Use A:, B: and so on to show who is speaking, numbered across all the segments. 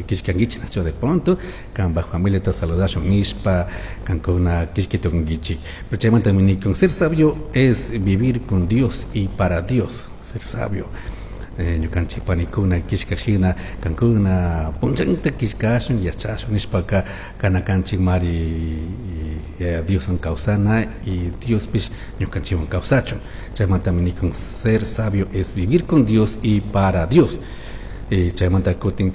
A: Killkanguichik nachu de pronto kanpak familiata saludashun nishpa kankuna killki tukunguichik. Pero chaymantami nikun ser sabio es vivir con Dios y para Dios. Ser sabio. Ñukanchik panikuna killkashina kankuna punchanta killkashun yachashun nishpaka kana kanchik mari Dioswan kawsana y Diospish ñukanchikwan kawsachun. Chaymantami nikun ser sabio es vivir con Dios y para Dios. Chaymanta kutin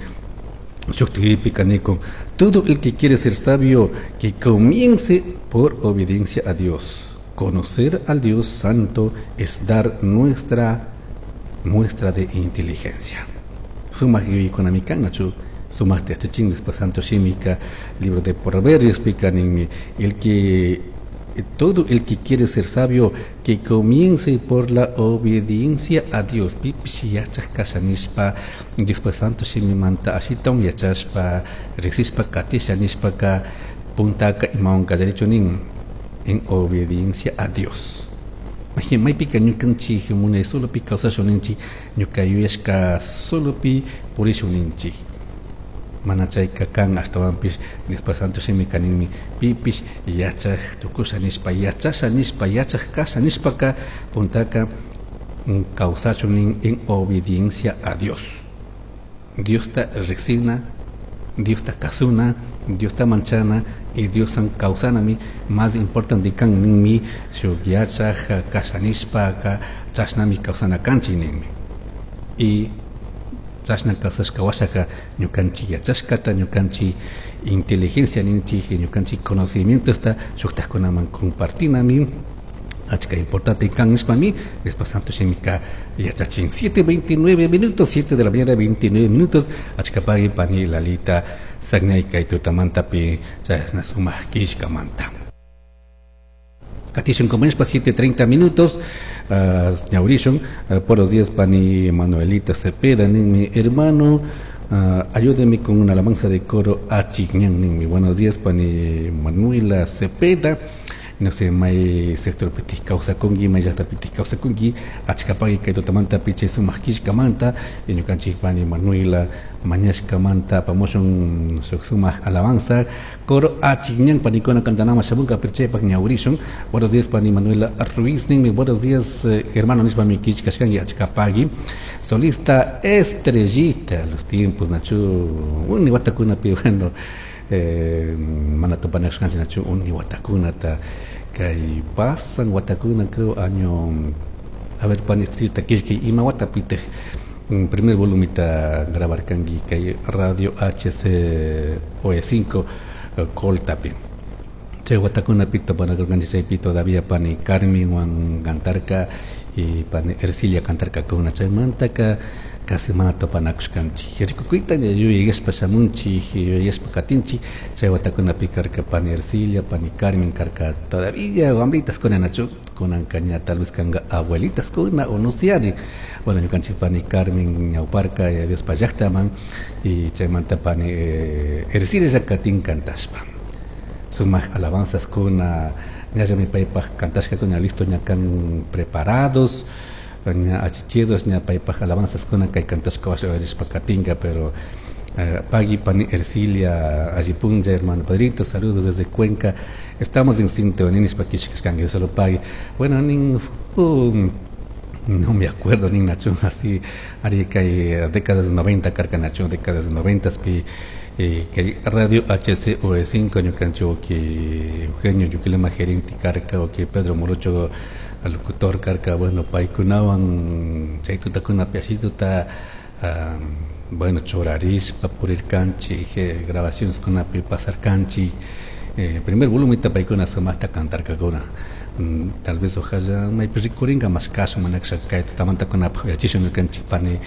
A: shuktikipika nikun todo el que quiere ser sabio que comience por obediencia a Dios. Conocer al Dios Santo es dar nuestra muestra de inteligencia. Sumak yuyaykunami kan nachu sumakta yachachin después Santo Shimika libro de Proverbios pika ninmi el que todo el que quiere ser sabio que comience por la obediencia a Dios. Pipish yachaj kasha nishpa Diospa Santo Shimimanta ashitawan yachashpa riksishpa katisha nishpaka puntaka imawan kallarichu nin en obediencia a Dios. Maypika ñukanchik munay solopi kawsashun ninchik ñuka yuyashka solopi purishun ninchik. Mana chayka kan ashtawanpish Diospa Santo Shimika ninmi pipish yachaj tukusha nishpa yachasha nishpa yachaj kasha nishpaka puntaka kawsachun nin en obediencia a Dios. Diosta riksina, Diosta kasuna, Diosta manchana y Diosan kawsanami más importante kan ninmi shuk yachaj kasha nishpaka chashnami kawsana kanchik ninmi. Y chashna kawsashka washaka ñukanchik yachashkata ñukanchik inteligencia ninchik ñukanchik conocimientosta shuktajkunaman compartinami achka importante kan nishpami Diospa Santo Shimika yachachin. 7:29 minutos, 7 de la mañana 29 minutos, achka pagui pani Lalita Sagnay kay tutamantapi chashna sumak killkamanta. Katishun compañeros, 7:30 minutos, ñawrishun, por los días pani Manuelita Cepeda, mi hermano, ayúdeme con una alabanza de coro Achigñán, ninmi. Buenos días pani Manuela Cepeda. No sé, may sector pitij kawsakunki, may llaqta pitij kawsakunki, achka pagui kay tutamanta pichay sumak killkamanta, y ñukanchik pani Manuela mañashkamanta apamushun shuk sumak alabanza coro Achigñán panikuna kantanama shamunka pirchaypak ñawrishun. Buenos días pani Manuela Ruiz ninmi. Buenos días hermano nishpa mi killkashkanki achka pagui. Solista Estrellita, los tiempos nachu uni watakunapi, bueno, mana tupanashkanchik nachu uni watakunata kay pasan watakuna creo año, a ver pani Estrellita killkay ima watapitej primer volumita grabarkanki kay radio HCOE5 Coltapi. Chay watakunapi tupanakurkanchik chaypi todavía pani Carmenwan cantarka y pani Ercilia cantarkakuna chaymantaka casi mana tupanakushkanchik. Rikukuyta yuyayashpa shamunchik, yuyayashpa katinchik, chay watakunapi karka pani Ercilia, pani Carmen karka todavía wambritas kuna nachu, kunanka ña tal vez kanga abuelitas kuna o no sé ari. Bueno, ñukanchik pani Carmen ñawparka, Diospa llaqtaman y chaymanta pani Ercilia llakatin kantashpa. Sumak alabanzas kuna, ñallami paypaj kantashka kuna listo ña kan preparados, ña achichidos, ña paypaj alabanzas kuna kay kantashka washa rishpa katinka, pero pagui pani Ercilia Allipunlla, hermano Padrito, saludos desde Cuenca. Estamos en sintonía, nishpa kishkashkanki, solo pagui. Bueno, nin no me acuerdo nin nachu, así, ari kay décadas de 90, karka nachu, décadas de 90, pi, kay radio HCOE5, ñukanchu, que Eugenio Yuquilema gerente karka, o que Pedro Morocho locutor karka, bueno, paykunawan chay tutakunapi ashituta, bueno, churarishpa purirkanchik, grabaciones kunapi pasarkanchik, primer volumita paykuna sumaqta cantarkakuna. Tal vez ojalá maypi rikurinka mas kasu manaksa kay tutamantakunapaj uyachishun ñukanchik pani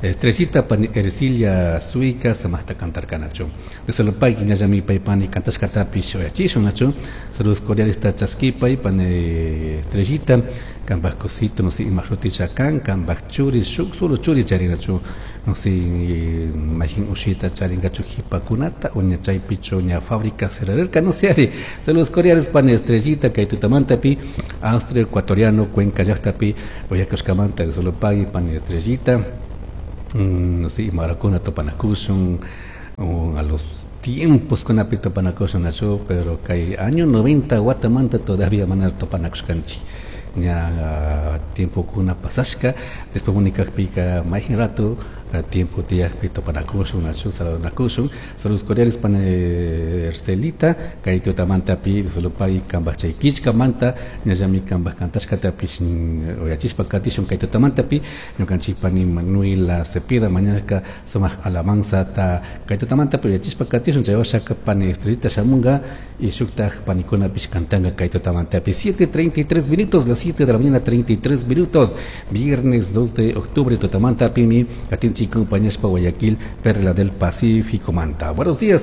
A: Estrellita pani Ercilia Suica sumaqta cantarkanachu. De solo pay ñallami pay pani cantashkatapish uyachishun nachu. Saludos cordiales ta chaskipay pani Estrellita kanpaj cosito no sé ima shuticha kan kanpaj churi shuk solo churi charinachu no sé mayjin ushita charinkachu jipakunata o ña chaypichu ña fábrica cerrarka no sé ari. Saludos cordiales pani Estrellita kay tutamantapi Austria ecuatoriano Cuenca llaqtapi uyakushkamanta de solo pay pani Estrellita. No sé, imarakuna tupanakushun, A los tiempos kunapi tupanakushun, nachu? Pero kay año 90 watamanta todavía mana tupanakushkanchik. Ña tiempokuna pasashka, después unikakpika mayjin rato tiempo tiyakpi tupanakushun, nachu? Saludanakushun. Saludos cordiales pana Ercelita, kay tutamantapi solopay kambaj chay killkamanta ñallami kambaj kantashkatapish uyachishpa katishun kay tutamantapi. Ñukanchik pani Manuela Cepeda mañashka sumak alabanzata kay tutamantapi uyachishpa katishun. Chay washaka pani Estrellita shamunga y shuktaj panikunapish kantanga kay tutamantapi. 7:33 minutos, las 7 de la mañana 33 minutos, viernes 2 de octubre, tutamantapimi katinchik acompañashpa Guayaquil, Perla del Pacífico manta. Buenos días.